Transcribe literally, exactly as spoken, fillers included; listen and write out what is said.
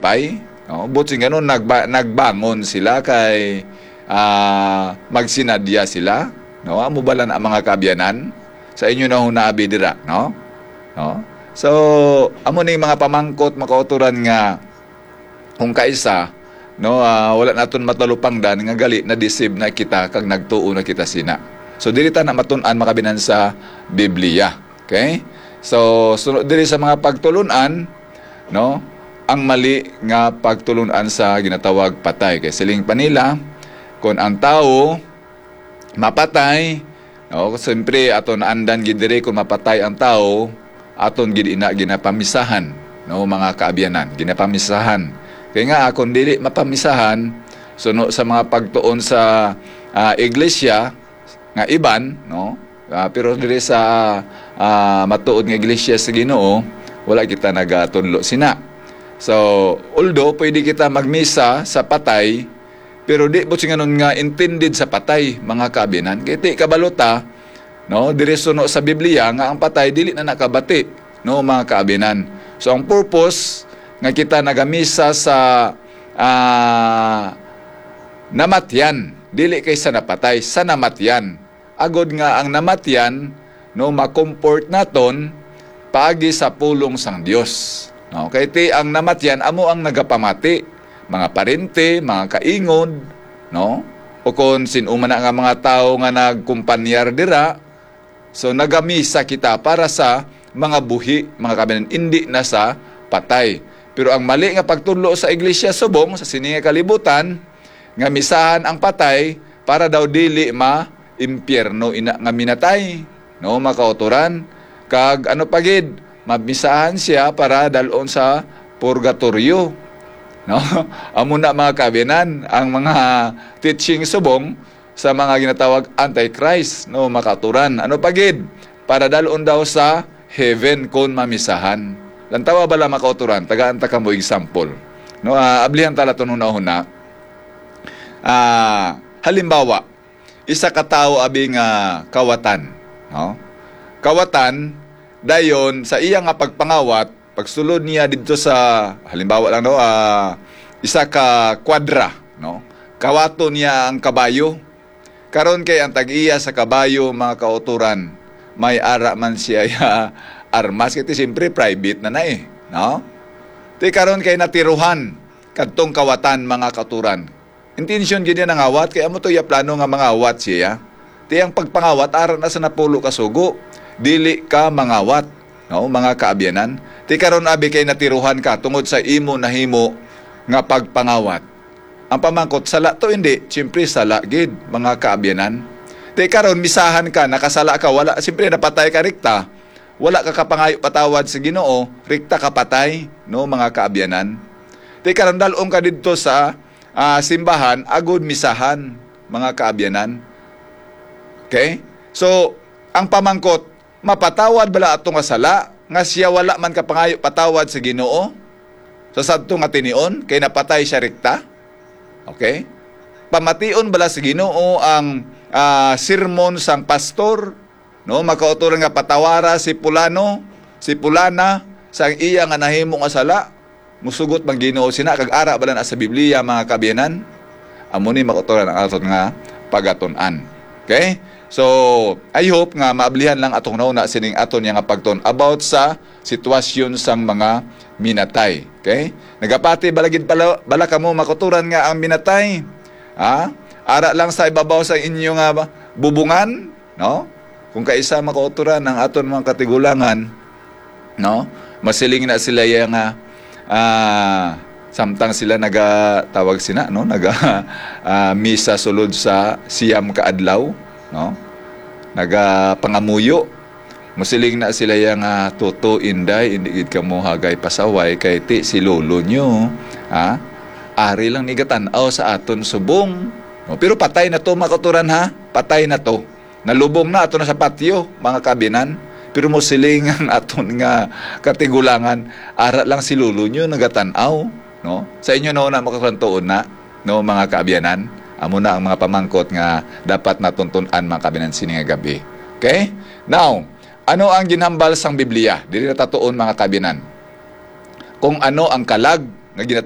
pay, no? Buot silingon, nagba-, nagbangon sila kay, ah, magsinadya sila, no? Amo bala na, mga kaabyanan, sa inyo na hunabi dira, no? No? So, amo ning mga pamangkot, mga kautoran, nga kung kaisa, no, ah, wala naton matalupangdan nga gali na-deceive na kita kag nagtuo na kita sina. So, diri ta na matun-an, mga kaabyanan, sa Biblia. Okay? So, sunod diri sa mga pagtulon-an, no, ang mali nga pagtulon-an sa ginatawag patay. Kay siling pa nila, kung ang tawo mapatay, no, siyempre, aton naandan gid diri, kung mapatay ang tawo, aton gid ina ginapamisahan, no, mga kaabyanan, ginapamisahan. Kay nga, kung dili mapamisahan, suno sa mga pagtuon sa, ah, iglesia nga iban, no, ah, pero diri sa, ah, matuod nga iglesia sa Ginoo, wala kita nagatunlo sina. So, although pwede kita magmisa sa patay, pero di buot silingon nga intended sa patay, mga kaabyanan. Kay ti kabalo ta, no, diri suno sa Biblia nga ang patay dili na nakabati, no, mga kaabyanan. So, ang purpose nga kita nagamisa sa, ah, namatyan, dili kay sa napatay, sa namatyan, agod nga ang namatyan, no, ma-comfort naton paagi sa pulong sang Dios. No, kay ti ang namatyan amo ang nagapamati, mga parente, mga kaingod, no? O kon sin-o man na nga mga tawo nga nagkumpanyar dira, so nagamisa kita para sa mga buhi, mga kaabyanan, indi na sa patay. Pero ang mali nga pagtudlo sa iglesia subong sa sini nga kalibutan, nga misahan ang patay para daw dili ma-impyerno ina nga minatay, no, mga kautoran. Kag ano pa gid, mamisahan siya para dal-on sa purgatorio, no? Amo na, mga kaabyanan, ang mga teaching subong sa mga ginatawag antichrist, no, mga kautoran. Ano pa gid? Para dal-on daw sa heaven kon mamisahan. Lantawa bala, mga kautoran, tagaan ta kamo example. No, ah, ablihan ta la ton hunahuna. Ah, halimbawa, isa ka tawo abi nga kawatan, no? Kawatan, dayon sa iya nga pagpangawat, pagsulod niya didto sa, halimbawa lang, no, ah, isa ka kwadra, no? Kawaton niya ang kabayo. Karon kay ang tag-iya sa kabayo, mga kautoran, may ara man siya ya armas, kay ti siyempre private na na eh, no? Ti karon kay natiruhan kadtong kawatan, mga kautoran. Intensyon gid niya nangawat, kay amo to iya plano nga mangawat siya. Ti ang pagpangawat ara na sa napulo ka sugo, dili ka mangawat, no, mga kaabyanan. Ti karon abi kay natiruhan ka tungod sa imo nahimo nga pagpangawat. Ang pamangkot, sala to, hindi? Siyempre, sala gid, mga kaabyanan. Ti karon, misahan ka, nakasala ka, wala, siyempre, napatay ka, rikta. Wala ka kapangayo patawad sa Ginoo, rikta ka patay, no, mga kaabyanan. Ti karon, dal-on ka didto sa, ah, simbahan, agud misahan, mga kaabyanan. Okay? So, ang pamangkot, mapatawad bala ato nga sala nga siya wala man kapangayo patawad sa Ginoo sa sadto nga tinion kay napatay siya rikta? Okay? Pamation bala sa Ginoo ang, ah, sermon sang pastor, no? Makauturan nga patawara si pulano, si pulana, sa iya nga nahimo nga sala. Musugot bang Ginoo sina kag ara bala na sa Biblia, mga kaabyanan? Amo ni makauturan ang aton nga pagatun-an. Okay? So, I hope nga maablihan lang atong nauna sining aton nga pagtun about sa sitwasyon sang mga minatay. Okay? Nagapati bala gid pala, bala kamo makauturan nga ang minatay, ha? Ara lang sa ibabaw sa inyo nga bubungan, no? Kung kaisa makauturan ang aton mga katigulangan, no? Masiling na sila iya nga, ah, samtang sila naga-, tawag sina, no? Naga, ah, misa sulod sa siyam ka adlaw, no? Nagapangamuyo. Masiling na sila iya nga, "Toto, Inday, indi gid kamo hagay pasaway kay ti si lolo nyo, ha? Ari lang ni gatan-aw sa aton subong." No? Pero patay na to, mga kauturan, ha? Patay na to. Nalubong na, ato na sa patio, mga kaabyanan. Pero masiling ang aton nga katigulangan, "Ara lang si lolo nyo nagatan-aw," no? Sa inyo na una, makatuon na, no, mga kaabyanan? Amo na ang mga pamangkot nga dapat naton tun-an, mga kaabyanan, sini nga gab-i. Okay? Now, ano ang ginhambal sang Biblia? Diri na ta tuon, mga kaabyanan. Kung ano ang kalag nga ginatawag